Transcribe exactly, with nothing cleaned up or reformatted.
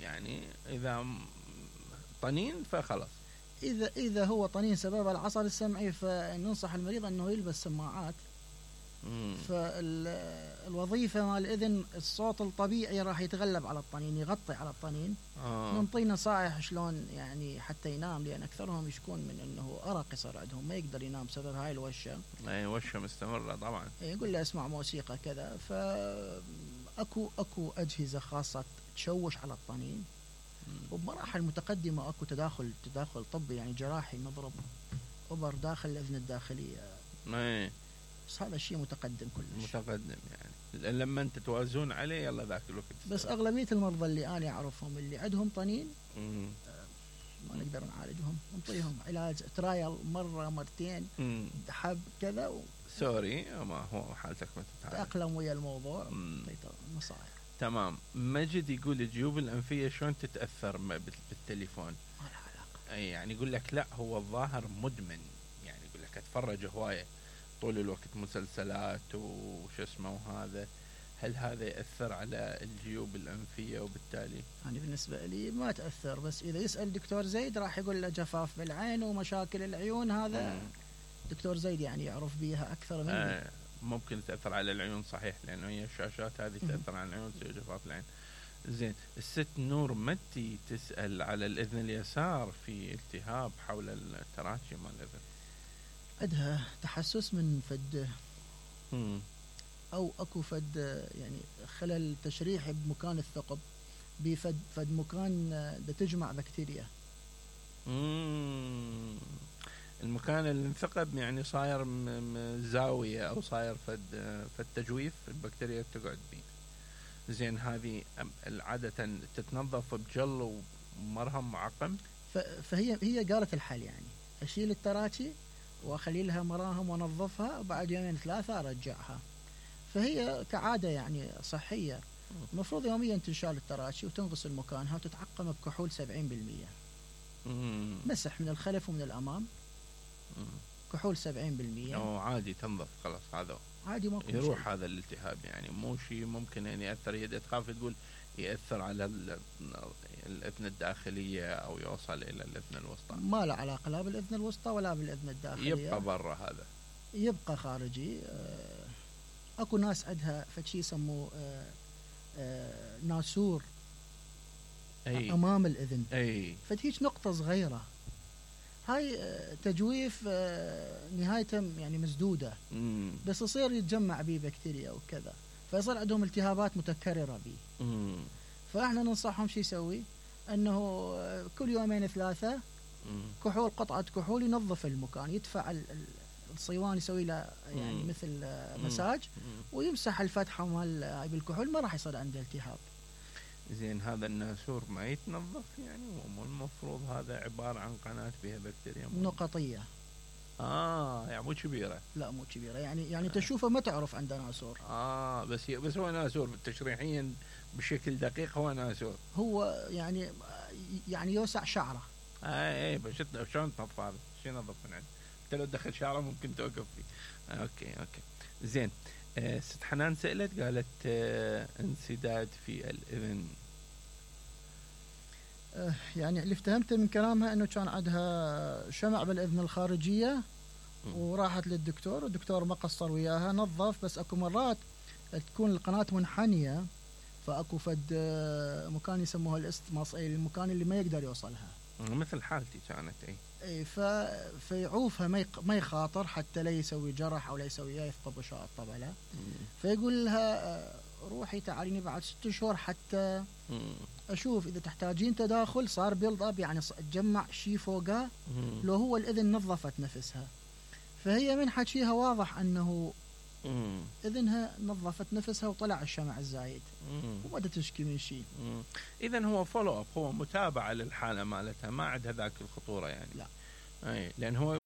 يعني إذا طنين فخلص. إذا إذا هو طنين سبب العصب السمعي فننصح المريض أنه يلبس سماعات. فالوظيفة مال الإذن الصوت الطبيعي راح يتغلب على الطنين، يغطي على الطنين. آه. ننطي نصائح شلون يعني حتى ينام، لأن أكثرهم يشكون من أنه أرق يصير عندهم، ما يقدر ينام بسبب هاي الوشة. أي وشة مستمرة طبعا. يقول له اسمع موسيقى كذا. فأكو أكو أجهزة خاصة تشوش على الطنين، وبمراحل متقدمة أكو تداخل تداخل طبي يعني جراحي، نضرب أبر داخل الأذن الداخلية. أي. بس هذا الشيء متقدم كلش. متقدم يعني لما انت توازون عليه يلا ذاك الوقت. بس اغلبيه المرضى اللي انا اعرفهم اللي عندهم طنين آه ما نقدر نعالجهم، نعطيهم علاج ترايل مره مرتين حب كذا و... سوري ما هو حالتك ما تتعالج، تأقلم ويا الموضوع. نصائح. تمام. مجد يقول الجيوب الانفيه شلون تتاثر بالتليفون؟ ما لها علاقه. اي يعني يقول لك لا هو الظاهر مدمن، يعني يقول لك اتفرج هوايه طول الوقت مسلسلات وش اسمه وهذا، هل هذا يأثر على الجيوب الأنفية وبالتالي؟ يعني بالنسبة لي ما تأثر، بس إذا يسأل دكتور زيد راح يقول له جفاف بالعين ومشاكل العيون، هذا مم. دكتور زيد يعني يعرف بيها أكثر مني. آه ممكن تأثر على العيون صحيح، لأنه هي الشاشات هذه تأثر على العيون تصير جفاف العين. زين. الست نور متي تسأل على الإذن اليسار في التهاب حول التراشي مال الإذن، عندها تحسس من فد مم. أو أكو فد يعني خلل تشريحي بمكان الثقب، بفد فد مكان دا تجمع بكتيريا. مم. المكان اللي انثقب يعني صاير زاوية أو صاير فد فد تجويف البكتيريا تقعد بيه. زين. هذه عادة تتنظف بجل ومرهم معقم؟ فهي هي قالت الحل يعني أشيل التراشي واخلي لها مراهم ونظفها وبعد يومين ثلاثة ارجعها. فهي كعادة يعني صحية، المفروض يوميا تنشال التراشي وتنغسل مكانها وتتعقم بكحول سبعين بالمية. مسح من الخلف ومن الامام. مم. كحول سبعين بالمية. أو عادي تنظف خلاص، هذا عادي ما يروح شيء. هذا الالتهاب يعني مو شيء ممكن يعني يأثر. هي تخاف تقول يأثر على الأذن الداخلية أو يوصل إلى الأذن الوسطى. ما له علاقة لا بالأذن الوسطى ولا بالأذن الداخلية، يبقى برا، هذا يبقى خارجي. أكو ناس عندها فشي يسموه ناسور أي. أمام الأذن أي. فهيك نقطة صغيرة، هاي تجويف نهايته يعني مسدودة. مم. بس يصير يتجمع بيه بكتيريا وكذا، فيصير عندهم التهابات متكررة بيه. مم. فاحنا ننصحهم شو يسوي، انه كل يومين ثلاثة مم. كحول قطعة كحول ينظف المكان، يدفع الصيوان يسوي له يعني مم. مثل مساج مم. ويمسح الفتحة مال بالكحول، ما راح يصير عنده التهاب. زين. هذا الناسور ما يتنظف يعني؟ مو المفروض هذا عبارة عن قناة فيها بكتيريا نقطية؟ اه يعني مو كبيرة. لا مو كبيرة، يعني يعني تشوفه ما تعرف عنده ناسور. اه بس بس هو ناسور تشريحيا بشكل دقيق، هو ناسور. هو يعني يعني يوسع شعره. اه اي بس شلون تنظف هذا؟ شو ينظف من عنده؟ انت لو دخل شعره ممكن توقف فيه. آه اوكي اوكي زين. آه ست حنان سألت قالت آه انسداد في الإذن. آه يعني اللي افتهمته من كلامها انه كان عندها شمع بالإذن الخارجية م. وراحت للدكتور، والدكتور ما قصر وياها، نظف. بس اكو مرات تكون القناة منحنية، فاكو فد مكان يسموه الاستماس، اي المكان اللي ما يقدر يوصلها، مثل حالتي كانت. اي اي ف... فيعوفها ما يق... ما يخاطر حتى لا يسوي جرح او لا يسوي يفقد غشاء الطبلة. فيقول لها روحي تعاليني بعد ست شهور حتى مم. اشوف اذا تحتاجين تداخل، صار بيلد اب يعني تجمع شيء فوقها لو هو الاذن نظفت نفسها. فهي من حكيها واضح انه مم. اذنها نظفت نفسها وطلع الشمع الزايد وما تشكي من شيء. اذا هو فولو اب، هو متابعه للحاله مالتها، ما عندها ذاك الخطوره يعني. لا اي لان هو